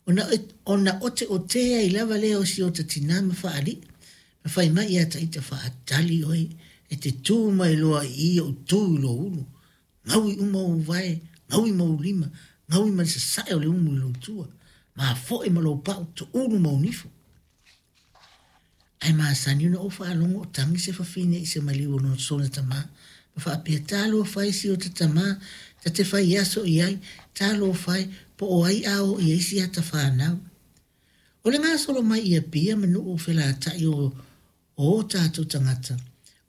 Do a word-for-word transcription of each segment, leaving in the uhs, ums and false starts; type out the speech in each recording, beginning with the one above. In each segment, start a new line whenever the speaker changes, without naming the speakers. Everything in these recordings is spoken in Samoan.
Ona, ona oteote ai lava lea o si ota tinā ma faalii, ma fai mai ia taita faatali oe, e te tū mai loa i i ou tū i lou ulu. Gaui uma ou vae, gaui ma ou lima, gaui ma le sasae o le umu i lou tua, mafoe ma lou pau, tuulu ma ou nifo. Ae masani ona ou faalogo o tagi se fafine i se maliu o lona sona tamā, ma faapea, Talofa e si ota tamā, ta te fai aso i ai, talofa e, po o ai a o i ai si ata fanau. O le gasolo mai i Apia ma nuu felata'i o o o tatou tagata,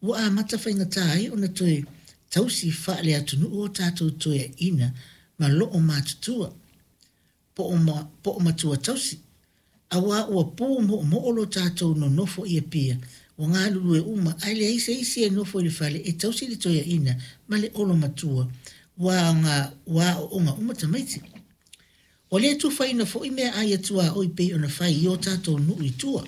ua amata faigata ai ona toe tausi faale-atunuu o tatou toeaiina ma loo matutua, po o ma, po o matua tausi. Auā ua pu moomoo lo tatou nonofo i Apia, ua galulue uma ae leai se isi e nofo i le fale e tausi le toeaina ma le olomatua, ua aoga, ua aooga uma tamaiti. Ua le tufaina foi meaai a tuaoi pei ona fai i o tatou nuu i tua.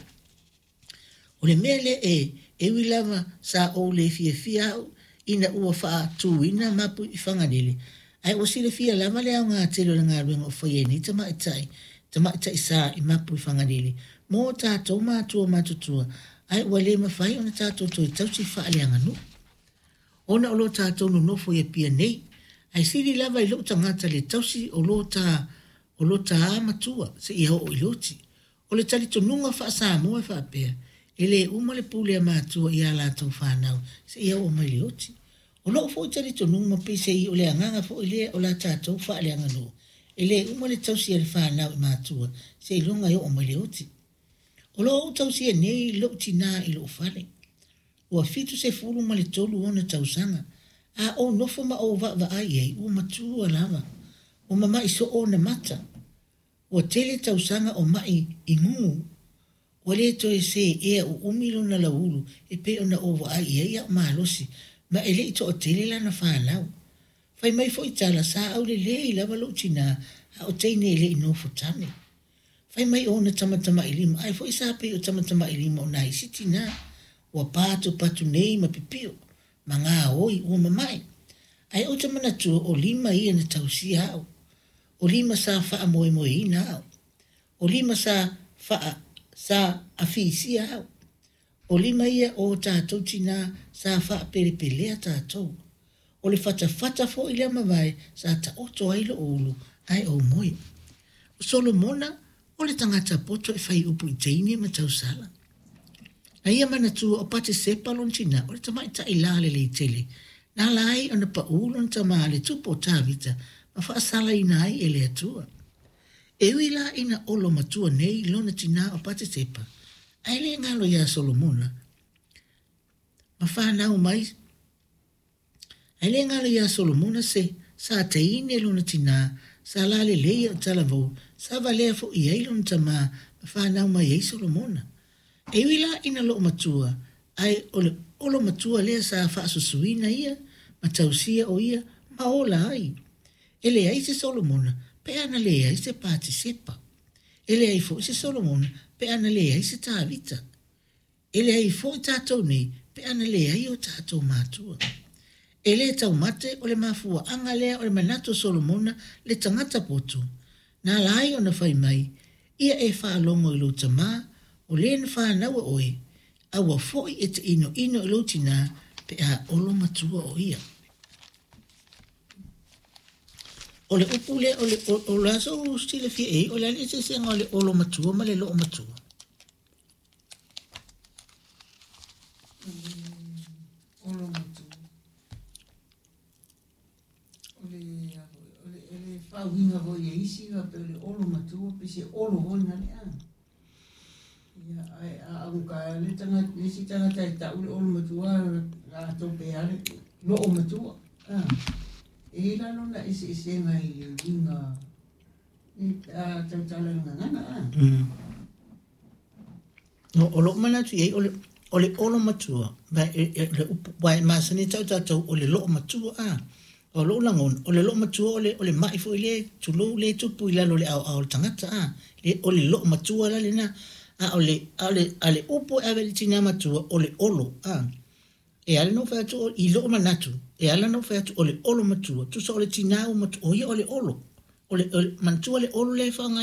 O le mea lea e, e ui lava sa ou le fiafia au ina ua faatuina mapu i Fagalele, ae ua silafia lava le aoga tele o le galuega o faia e nei tamaitai, tamaitai sa i mapu i Fagalele mo tatou matua matutua, ae ua le mafai ona tatou toe tausi faaleaganuu. Ona o lo tatou nonofo i Apia nei, ae sili lava i lou tagata le tausi o lo ta, o lo ta matua seia oo i le oti. O le talitonuga faa-Samoa e faapea, e le uma le pule a matua i a latou fanau seia oo mai le oti. O lou foi talitonuga ma peisei o le agaga foi lea o la tatou faaleaganuu, e le uma le tausi a le fanau i matua seiloga e oo mai le oti. O lo o ou tausia nei lou tinā i lou fale. Ua fitu sefulu ma le tolu ona tausaga. A ou nofo ma ou vaavaai i ai, ua matua lava. Ua mama'i soo ona mata. Ua tele tausaga o ma'i i gugu. Ua le toe seea uumi lona lauulu e pei ona ou vaai i ai a o malosi, ma e le'i toatele lana fanau. Fai mai foi tala sa aulelei lava lou tinā a o teine e le'i nofo tane. Fai mai o ona tamatamailima, ai foi sa pei o tamatamailima o nai isi tinā. Ua patupatu nei ma pipio, ma gaoi ua mama'i. Ae ou te manatua o lima ia na tausia au. O lima sa faamoemoeina au. O lima sa faa, sa afisia au. O lima ia o tatou tinā sa faapelepelea tatou. O le fatafata foi lea mavae sa taoto ai lou ulu ae ou moe. O Solomona o le tagata poto e fai upu i teine ma tausala. Na ia manatua o Patesepa lona tinā o le tamaitai lalelei tele. Na ala ai ona paū lona tamā le tupu o Tavita ma faasalaina ai e le Atua. E ui la ina olo matua nei lona tinā o Patesepa, ae le galo iā Solomona ma fanau mai Ae le galo iā Solomona se sa teine lona tinā, sa lalelei o talavou, sa valea foi ai lona tamā ma fanau mai ai Solomona. E ui la ina loo matua, ae o le olo matua lea sa faasusuina ia, ma tausia o ia, ma ola ai. E leai se Solomona, pe ana leai se Patisepa. E leai foi se Solomona, pe ana leai se Tavita. E leai foi tatou nei, pe ana leai o tatou matua. E le taumate o le mafuaaga lea o le manatu o Solomona le tagata poto. Na ala ai ona fai mai, ia e faalogo i lou tamā, o le na fanaua oe, aua foi e te inoino i lou tinā pe a olo matua o ia. O le upu lea, o le, o, o le a sou silafia i ai, o le a le eseesega o le olo matua ma le loo matua?
O le olo matua. O le, o le, o le faauiga foi e isi faapea o le olo matua, pe se olo foi na le a. Ia, ae a augata le tagata, le isi tagata e tau le olo matua, latou pe a le loo matua. A, e i ai la lona eseesega i le uiga e pe a tautala i le gagana, a.
Mm. No, o lou manatu i ai, o le, o le olo matua, ma e, e, le upu, ua e masani e tau tatou o le loo matua, a. O lou lagona, o le loo matua o le, o le ma'i foi lea, tulou, lea e tupu i lalo o le aoao o le tagata, a. Le, o le loo matua la lena. A o le, a o le, a le upu e ave i le tinā matua, o le olo, a. E ala ona ou fai atu i lou manatu, e ala ona ou fai atu o le olo matua, tusa o le tinā ua matua, o ia o le olo. O le, o le manatua le olo lea e faaaoga